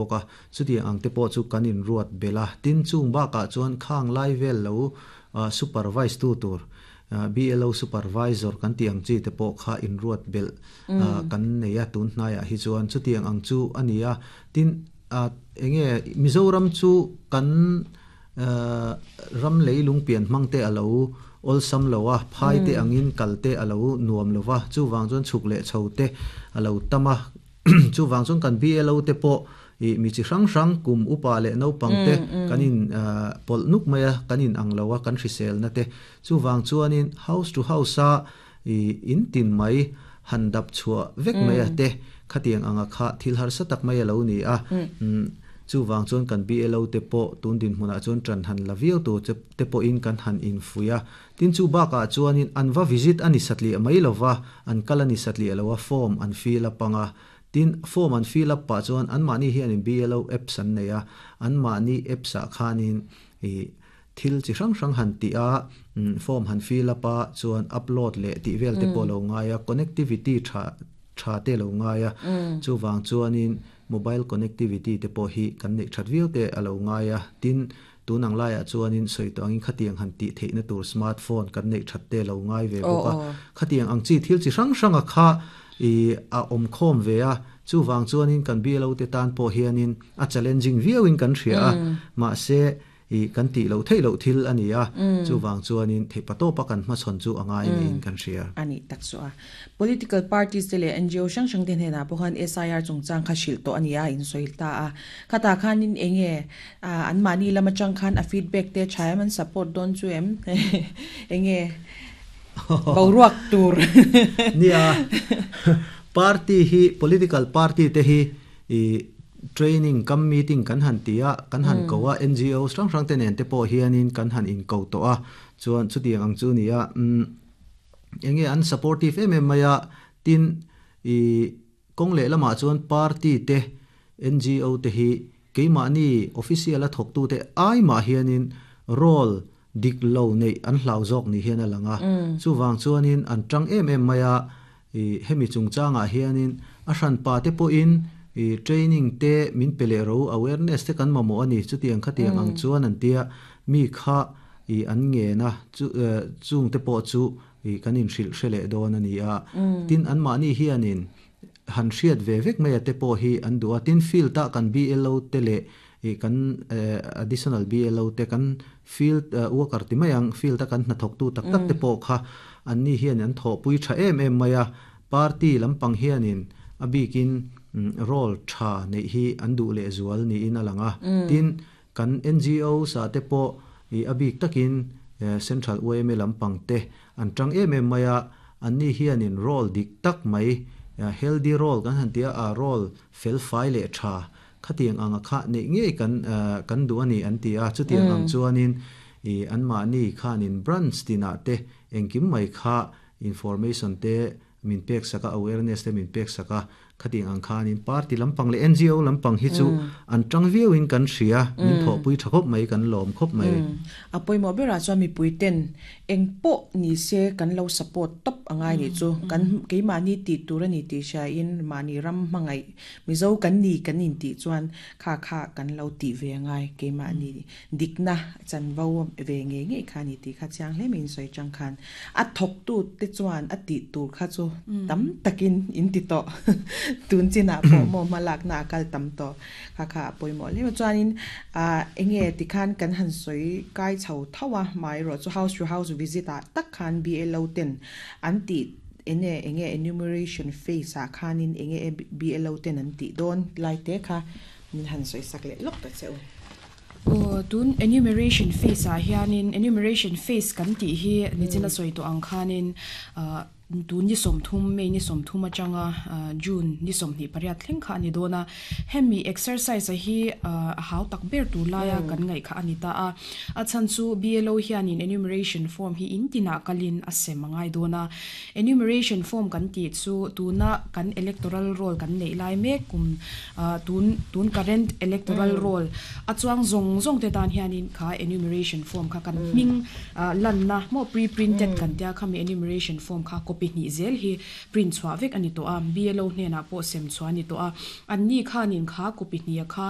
Bawk a, chutiang ang te pawh chu kan inruat belh a. Tin, chung bakah chuan khang lai vel lo supervise tu tur, BLO supervisor kan tih ang chi te pawh kha inruat belh kan nei a tun hnaiah hi chuan chutiang ang chu a ni a. Tin, enge Mizoram chu kan ram leilung pian hmang te a lo awlsam lo a, phai te angin kal te a lo nuam lo va, chuvang chuan chhuk leh chho te a lo tam a. Chuvang chuan kan BLO te pawh ih mi chi hrang hrang kum upa leh naupang te kan in pawlh nuk mai a, kan in ang lo a kan hriselna te. Chuvang chuanin house to house a ih in tin mai han dap chhuah vek mai a te khatiang anga kha thil harsa tak mai a lo ni a. Chuvang chuan kan BLO te pawh tun dinhmunah chuan ṭan han la viau tur te pawhin kan han infuih a. Tin chu bakah chuanin an va visit a ni satliah mai lova, an kal a ni satliah lo a, form an fill up ang a. Tin, form an fill up pah chuan anmahni hianin BLO apps an nei a, anmahni apps ah khanin ih thil chi hrang hrang han tih a, form han fill up a, chuan upload leh tih vel te pawh a lo ngai a, connectivity tha tha te a lo ngai a, chuvang chuanin mobile connectivity te pawh hi kan neih that viau te a lo ngai a, tin Tun ang laiah chuanin sawi tawh angin khatiang han tih theihna tur smart phone kan neih that te lo ngai ve bawk a. Khatiang ang chi thil chi hrang hranga kha ih a awm khawm ve a, chuvang chuanin kan BLO te tan pawh hianin a challenging viauin kan hria a, mahse ih kan tih loh theih loh thil a ni a, chuvang chuanin theihpa tawpa kan hmachhawn chu a ngai niin kan hria. A nih tak chu a. Political parties te leh NGO hrang hrang te hnenah pawh khan SIR chungchang kha hrilh tawh a ni a, in sawi ta a. Khatah khanin eng nge anmahni lam atang khan a feedback te tha em, an support dawn chu em? Eng nge boruak tur? Nia, party hi, political party te hi training kam meeting kan han ti a, kan han ko a, NGO hrang hrang te nen te pawh hianin kan han inko tawh a, chuan chutiang ang chu a ni a. Enge an supportive em em mai a, tin i kawng leh lamah chuan party te, NGO te hi keimahni official a thawktu te ai mah hianin role dik lo neih an hlau zawk ni hian a lang a. Chuvang chuanin an tang em em mai a, i hemi chungchangah hianin a hranpa te pawhin i training te min pe leh ro, awareness te kan mamawh a ni, chutiang khatiang ang chuan an tia mi kha I an ngen a, chu chung te pawh chu i kan inhrilh hre leh dawn a ni a. Tin, anmahni hianin han hriat ve vek mai a te pawh hi an duh a. Tin, field a kan BLO te leh i kan additional BLO te, kan field worker ti mai ang, field a kan hnathawktu tak tak te pawh kha anni hian an thawhpui tha em em mai a. Party lampang hianin a bikin role tha neih hi an duh lehzual niin a lang a. Tin, Kan NGOs ah te pawh i a bik takin Central yma lampang te an tang em em mai a, anni hianin role dik tak mai, healthy role kan han ti a, a role fel fai leh tha khatiang anga kha neih ngei kan kan duh a ni an ti a, chutiang ang chuanin i anmahni khanin branch tinah te engkim mai kha information te min pek sak a, awareness te min pek sak a, khatiang ang khanin party lampang leh NGO lampang hi chu an tang viauin kan hria, min thawhpui tha khawp mai, kan lawm khawp mai. A pawimawh berah chuan mipui ten eng pawh ni se kan lo support tawp a ngai nih chu, kan keimahni tih tur a ni tih hriain mahni ram hmangaih Mizo kan ni kan intih chuan kha kha kan lo tih ve a ngai, keimahni Dikna chanvo ve ngei ngei kha a ni tih kha chiang hle mai in sawi chang khan a thawktu te chuan a tih tur kha chu tam takin in ti tawh tun chinah pawh maw hma lakna a kal tam tawh kha kha a pawimawh hle mai chuanin ah enge tikhan kan han sawi kai chho tho a amaherawh chu house to house visit ah tak khan BLO ten an tih enge enge enumeration phase ah khanin enge BLO ten an tih dawn lai te kha min han sawi sak leh lawk ta che u. Aw, tun enumeration phase ah hianin enumeration phase kan tih hi nichina sawi tawh ang khanin ah tun ni sawmthum May ni sawmthum atanga June ni sawmhnih pariat thleng kha a ni dawn a. Hemi exercise a hi ah a hau tak ber tur laia kan ngaih kha a ni ta a. A chhan chu BLO hianin enumeration form hi in tinah kalin a sem a ngai dawn a. Enumeration form kan tih chu tuna kan electoral roll kan neih lai mek kum Tun tun current electoral roll a chuang zawng zawng te tan hianin kha enumeration form kha kan hming lanna maw pre-printed kan tia khami enumeration form kha copy copy hnih zel hi print chhuah vek a ni tawh a, BLO hnenah pawh sem chhuah a ni tawh a, an ni khanin kha copy hnih a kha.